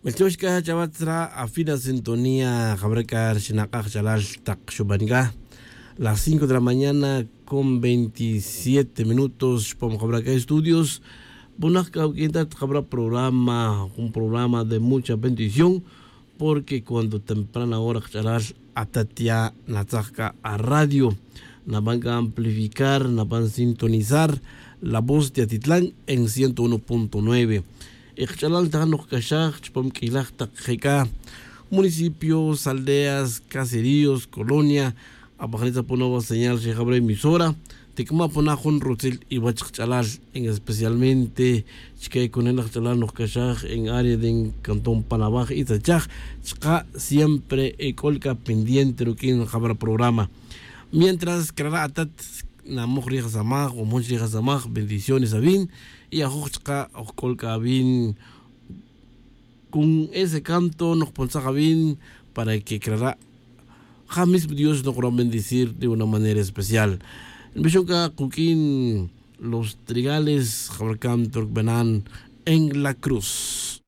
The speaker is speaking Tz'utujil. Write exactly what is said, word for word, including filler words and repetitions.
Melchox c'a chavatz ra afina sintonía jabra c'a ri xinak'aj ch'alal tak xuban c'a las cinco de la mañana con veintisiete minutos xpom jabra c'a estudios. Bunak c'a uq'uin tat jabra programa, jun programa de mucha bendición, porque cuando temprana hora kach'alal atat ya natzaj c'a aradio, naban c'a amplificar, naban sintonizar la voz de atitlan en ciento uno punto nueve. Y kach'alal ta ja' nokcaxaj chupam q'uilaj tak je c'a municipios, aldeas, caseríos, colonia, abajanitza puna va señal xejabra emisora. Tikma puna jun rutzil iwach kach'alal, en especialmente chike cunelaj kach'alal nokcaxaj en área de cantón panabaj y tzachaj, chka' siempre ec'ol c'a pendiente ruq'uin jabra programa. Mientras crara' atat namoj rij asamaj o moj rij asamaj bendiciones avin, y ajoj chka' ojc'ol c'a avin con ese canto nokpontzaj avin para que crara' ja mismo dios nokro bendecir de una manera especial. Nbixon c'a kuq'uin los trigales jabra canto rcbanan en la cruz.